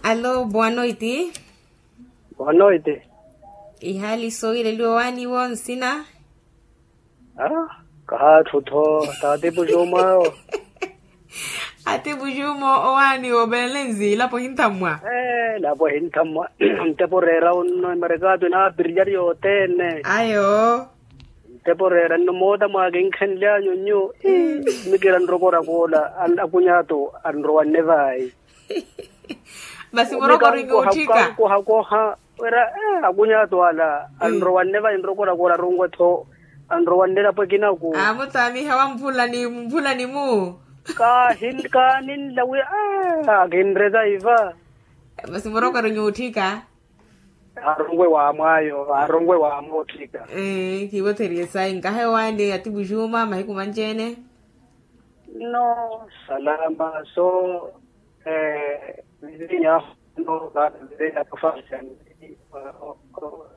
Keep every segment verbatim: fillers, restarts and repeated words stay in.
Alo boa noiti. Boa noiti. Ihali soileliwa waaniwo nsina? Kahaathu tho. Taatipu juma awo. Atipu juma owaaniwo belenzi lapo hinthammwa. Lapo hinthammwa. Ntepo reera unno emarekato inaapiriyari yothene. Ayo. Ntepo reera nno moota mwaakinkhenlyanyu nyu. Mikira nrokora koola. Akunyaato anrowanne vaayi. Masi murokori nyuutthika. Kohakoha wira. Akunyaato ala anrowanne vaayi nrokora koola arunkwe-tho. Anrowanne elapo ekinaku. Amutaamiha wa mphula ni mphula ni mu. Kaaninla wi. Akinreza iva. Masi murokori nyuutthika. Aaronwe waamwaayo aaronwe waamoothika. Kivotheriye sayi nkahe owaani atipu juma mahiku manci-ene. No. Salama so. Vizinya no. Vizinya profasian.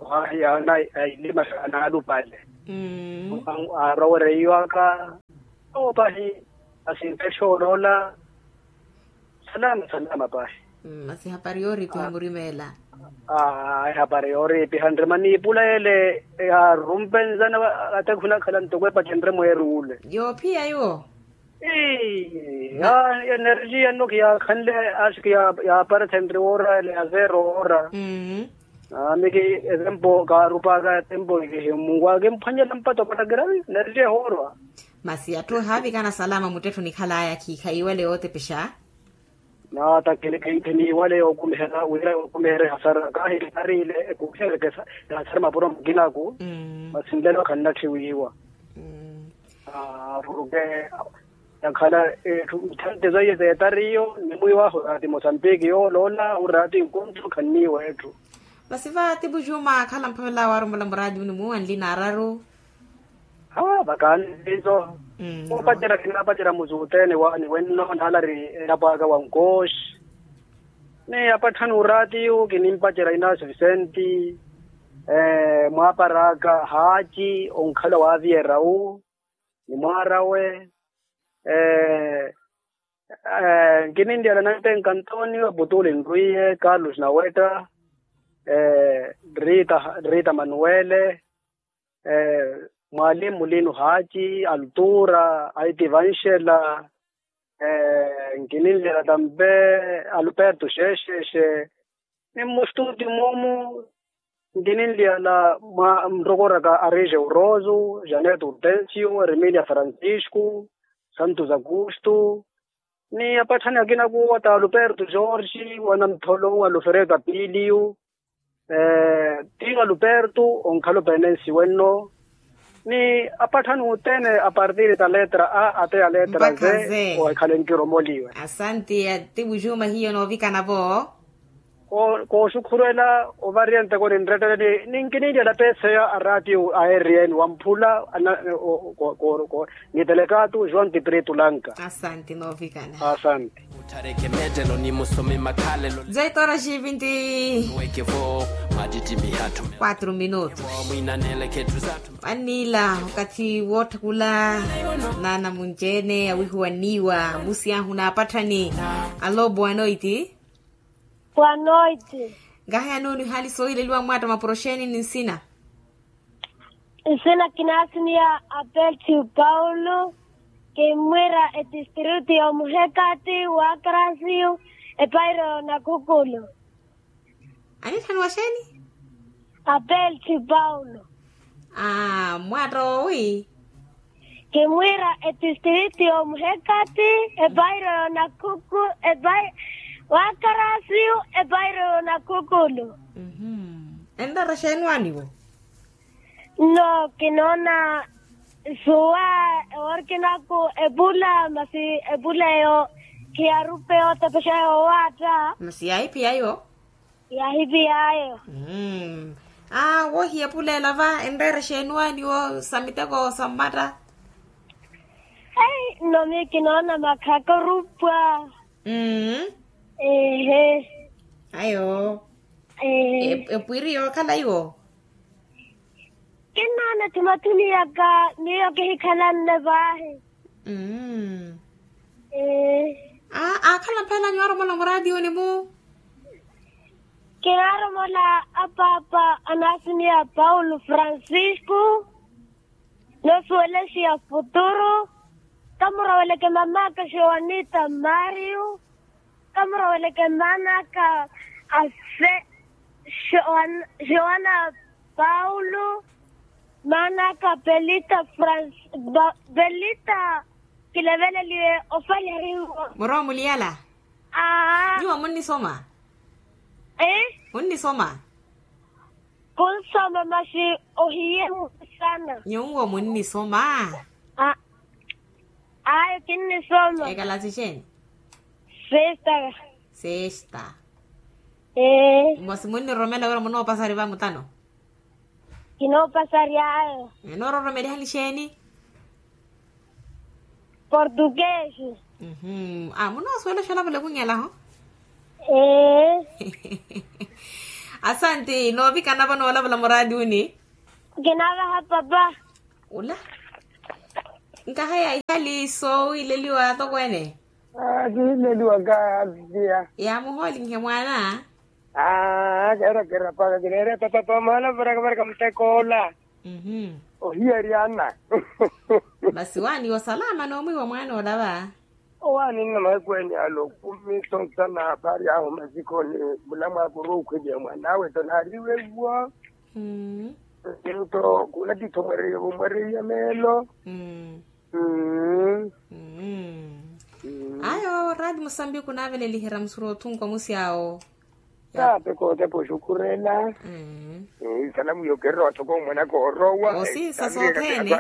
Ohahiya ana ailima anaalupale. Aarowereiwaka. Opahi. Asintexa oloola. Salama salama pahi. Masi hapari yooripiha murimeela. Ehapari yooripiha nrima niipula ele. Yaarumpe nzana. Ate khunakhala ntoko epacenre mweeruule. Yoophiya iwo. Energia nno kiyaakhanle. Ashi kiyaaparethenri woora ele ya zero woora. Ami ki etempo kaarupaka etempo kihimungu akimphwanyela mpato patakira. Energia ehoorwa. Masi atthu ehaavikana salama muttettho nikhalaya khiikha iwale yootepexa. Nata kiniwale yookumihela wira yookumihela ehasara kaahikitariile ekumihereke. Ehasara mapuro mukinaku. Masi nlelo khannatthi wiiwa. Apuruke. Yakhala etthu nthanti zaiye zeetariyo nimwiiwahu ati mosambiki yooloola uraati nkontho khanniiwa etthu. Masi va atipu juma akhala mphavela waarumola muraati munimu anli naararu. Vakaani viizo. Oopacerya kinaapacerya musuutene waani wenno naalari elapo aka wa nkooxi. Ni apatthani uraatiyu kinimpacerya inaasi visenti. Mwaaparaka haaci onkhala waaviyerya wu. Ni mwaarawe. Nkininlyala nantenka antonio putuli nrwiiye carlos nawetta. Rita manuele. Mwalimu lino haaci altura aiti vanxela. Nkininlyala tampe alperto xexexe. Ni mmustuti mumu nkininlyala mwa nrokoraka arije urozu janet urtensio erimilia francisco santos augusto. Ni apatthani akina kuwa ta alperto jorge wanantholo alfredo apiliu. Tino alperto onkhala openensi wenno. Ni apatthani othene apartiri ta letra a ate ya letra ze. Ohikhale nkiromoliwe. Asanti atipu juma hiyo noovikana vo. Kooxukhurwela ovariya nteko ninretteleni ninkininlyala peseya araatiyo a eriyeni wamphula. Ni telekaatu joão tiprito lanka. Asanti noovikana. Asanti. Zeitoraxi vinti. Quatro minutos. Anniila okathi wootthakula. Naana munci-ene awihuwa nniiwa musiyahu naapatthani. Alo boa noiti. Boa noiti. Nkahi anuuni ohaali soohileliwa mwatta mapuro xeeni ni nsina? Nsina kinaasimiya apeltio paulo. Kimmwiira etistritu y'omuhekati w'akarasiyu epairo nakhukulu. Anitthaniwa xeeni? Apeltio paulo. Aa mwatta owi. Kimmwiira etistritu y'omuhekati epairo nakhukulu. W'akarasiyu epairo nakhukulu. Enreera xeeni waaniwo? Nno kinoona suwa eworkinaku epula masi epula eyo khiyarupe otepexa yowaatta. Masi yaahiphiya yo. Yaahiphiya yo. Aa wohiya epula ela va enreera xeeni waaniwo sa miteko sa mmatta? Ei nno miyo kinoona makhaka orupwa. Ehe. Ayo. Epwiri yookhala iwo. Kinnoona ethumathumi yaka miyo kihikhalanne vaahi. Aakhala mphelanyu arumola muraatiyuni mu. Kinaaromela apaapa anasimiya paulo francisco, nosuwelesiya futuru. Kamuroweleke mamaka joanita mario. Kamuroweleke manaka ase joana paulo. Manaka pelita francisco. Pelita kileveleliwe ofaleriwa. Muromuliyala. Aa. Nyuwo munnisoma? Ee. Munnisoma? Kunsoma masi ohiye mukusana. Nyuwo munnisoma? Ayo kinnisoma. Ekalasi xeeni? Sesta. Sesta. Ee. Masi munniromela wira munoopasari vamutano? Kinoopasari ayo. Enoororomeliha nixeeni? Portuguese. Munoosuwela oxolavula okhung'elaho? Ee. Asanti noovikana vo noolavula muraatiuni. Kinavaha papa. Ula. Nkahaya ihali soowileliwa atokweene. Kiileliwa nkahaya. Yaamuhoolinhe mwaana. Aa keera keera paka kineera papa pamahala varaka varaka muteko ola. Ohiyari ana. Masi waaniwa osalama noomwiiwa mwaana ola va? Owaani nna mahiku ene alo kumi sontana apari ahu masikoni. Mulamwaaka oruukhweliya mwaana awe to naariwe iwo. Nto kunatitho mwereiya meelo. Ayo raati musambiki onaaveleliherya musuru othunku omusi awo. Taape kootepa oxukurela. Salamu yokerera wathoko omwana koorowa. Osinsa soothene.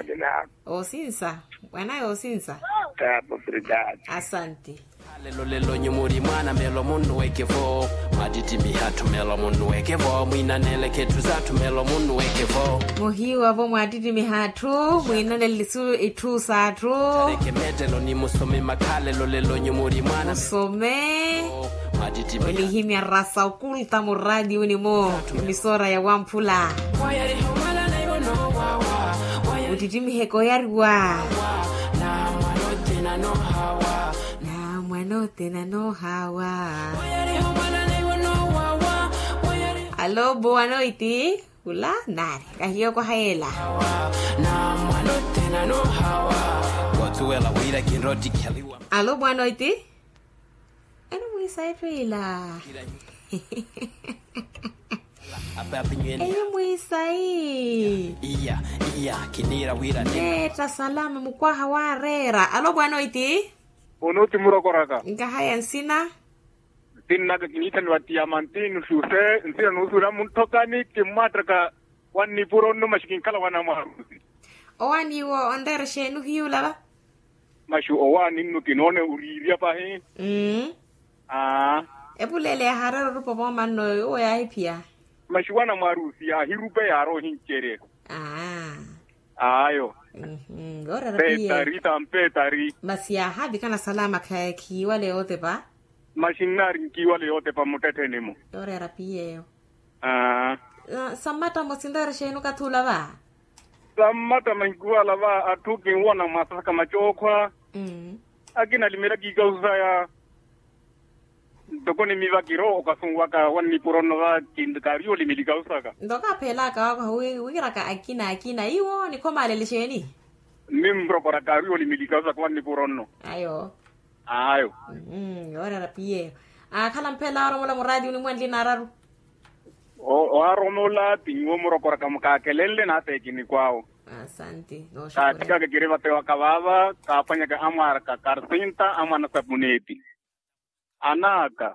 Osinsa. Mwana yoosinsa. Taape obrigado. Asanti. Lelo lelo nyumuri mwana melo munnuweke vo. Mwaatittimiha atthu melo munnuweke vo mwinaneleke etthu s'atthu melo munnuweke vo. Muhiiwa vo mwaatittimiha atthu mwinanele itthu s'atthu. Tareke mettelo ni musome makha lelo lelo nyumuri mwana musome. Mwaatittimiha. Onihimya rasa okulta muraatiuni-mo. Emisora ya wamphula. Otittimiheke oyariwa. Na mwanoothene anoohawa. Alo boa noiti. Ula nari kahiyo kwahayela. Alo boa noiti. Eni mwisayi pila. Eni mwisayi. Neetta salama mukwaha waareera alo boa noiti. Onooti murokoraka. Nkahaya nsina. Nsinnaka kiniithaniwa tiyamanti nuxuxe nsina nuusuwela munthokani kimmwaattaka. Wannipuro nno maxi kinkhala wanamwaarusi. Owaani iwo onreera exeeni ohiyuula va? Maxi owaani nno kinoona oriirya pahi. Aa. Epuleele yaahareera orupa vooma nno owo yaahiphiya. Maxi wanamwaarusi yaahirupe yaari ohincerya. Aa. Ayo. Yoorera piye. Masi yaahavikana salama khiiwale yootepa. Maxi nnaari nkiiwale yootepa mmuttettheni-mo. Yoorera piye eyo. Sammatta mmosi nreera exeeni okathi ula va? Sammatta mahiku ala va atthu kinwona mwaasaka macookhwa. Akina alimela kiikausu saya. Ntoko nimiva kiro okasunwaka wannipuro nno va. Kaari olimela ikausu saka. Ntoko apheelaka waakwaha wiraka akina akina iwo nikhomaalele exeeni? Mmi murokora kaari olimela ikausu saka wannipuro nno. Ayo. Ayo. Yoorera piyeyo. Aakhala mphela oromola muraatiyo onimwanli naararu. Owaromola ti nyuwo murokoraka mukaakelenle naateekini kwaawo. Asanti. Kaatikaka kiri vatewa kavaava kaaphwanyaka amwaaraka karsinta amwaana sapuneti. Anaaka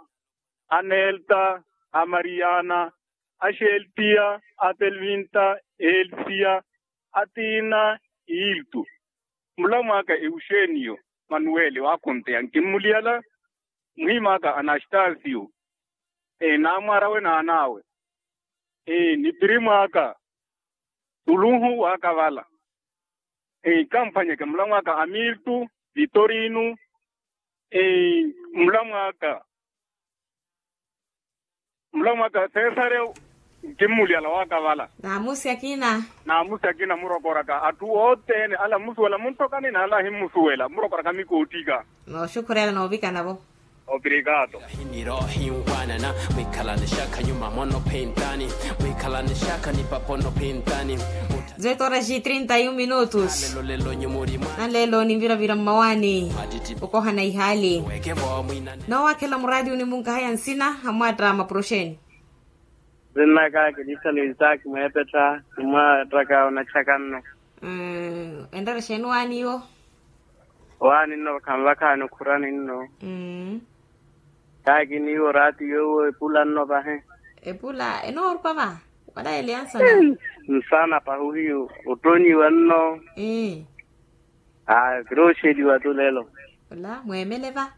anelta, amariyana, axeltiya, atelvinta, elsiya, atiina, iltu. Mulamwaaka euxeniyo, manuweli waakhunteya nkimmuliyala. Muhimaaka anastasiyo. Naamwaara we naan'awe. Ni pirimwaaka. Tuluhu waakavala. Kamphwanyeke mulamwaaka amiltu, vitorinu. Mulamwaaka mulamwaaka sesare. Nkimmuliyala waakavala. Naamusi akina. Naamusi akina murokoraka atthu othene ala mmusuwela munthokani n'ala ahimmusuwela murokoraka mikoottika. Nooxukhurela noovikana-vo. Obrigado. Hinirohi nwanana, mwikhalani shakha nyuma mono phintani, mwikhalani shakha ni papono phintani. Zetoraxi trinta e um minutos. Nanlelo ninviravira mmawaani, okohana ihaali. Noowakhela muraati onimunkahaya nsina amwatta maproxeni. Zinna kaki lisano isaki mweepettha. Nimwattaka onatthaka nno. Enreera xeeni waani iwo? Waani nno khanvakhaani okhurani nno. Kaki niiwo raati yoowo epula nno pahi. Epula enoorupa va? Wala eleya nsana. Nsana pahuhi. Ottonyiwa nno. Aa. Kirooxeliwa tu lelo. Ola mweemele va?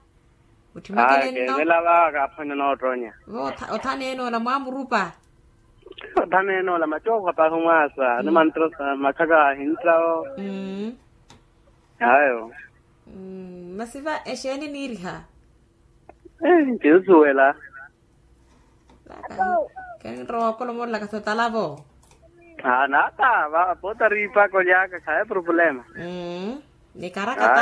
Mutthimekele nno. Keemela va kaaphwanya noottonya. Va othaneene ola mwaamurupa? Othaneene ola macookho pahi mwaasa ni mantrosa makhaka ahinttawo. Ayo. Masi va exeeni niiriha? Nkinsuwela. Kenrowa okolomoolelaka sotalavo. Naata va poota riipaka olyaka khaye problema. Nikarakata.